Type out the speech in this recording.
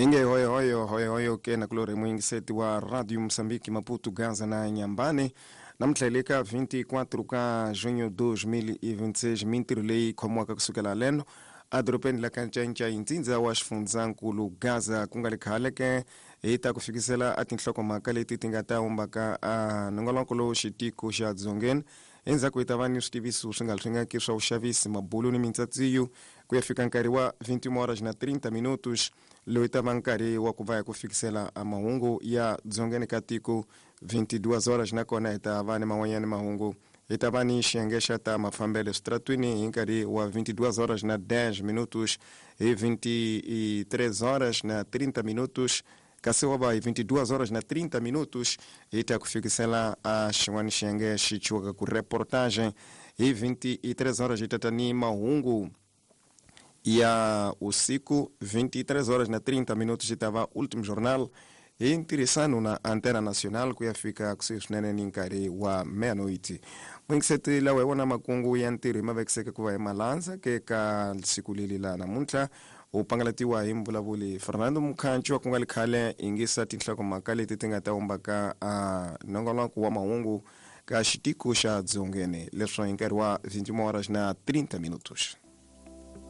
Inge hoyohoyo hoyohoyo ke nakulori muyingiseti wa Radio Moçambique, Maputo, Gaza na Inhambane. Namuntlha hi le ka 24 ka junho 2026, mintirho leyi khomiwaka kusukela leno edorobeni la ka Ncayincai, ntsindza wa xifundzankulu Gaza. Ku nga ri khale ke hi ta ku fikisela a tinhlokomhaka leti ti nga ta humbaka a nongonoko lowu xitiko xa dzongeni. Endzhaku hi ta va ni switiviso swi nga ri swingaki swa vuxavisi, mabulu ni mintsatsiyo ku ya fika nkarhi wa 21 horas na 30 minutos, loyi ta va nkarhi wa ku va hi ku fikisela a mahungu ya dzongeni ka tiko 22 horas. Nakona hi ta va ni man'wanyana mahungu, hi ta va ni xiyenge xa ta mafambelo eswitaratwini hi nkarhi wa 22 horas na 10 minutos. Hi 23 horas na 30 minutos, kasi wa va hi 22 horas na 30 minutos, hi ta ku fikisela a xin'wana xiyenge xi chiwaka ku reportage. Hi 23 horas hi tata ni mahungu ya usiku. 23 horas na 30 minutos xi ta va Último Jornal hi ntirhisano na Antena Nacional ku ya fika kusuhi swinene ni nkarhi wa meia-noite. Muyingiseti lawa hi wona makungu ya ntirho hi ma vekiseke ku va hi malandza ke ka siku leli la namuntlha, u pangalatiwa hi mvulavuli Fernando Mukhanchi wa ku nga li khale. Yingisa tinhlokomhaka leti ti nga ta humbaka a nongonoko wa mahungu ka xitiko xa dzongeni leswo hi nkarhi wa 21 horas na 30 minutos.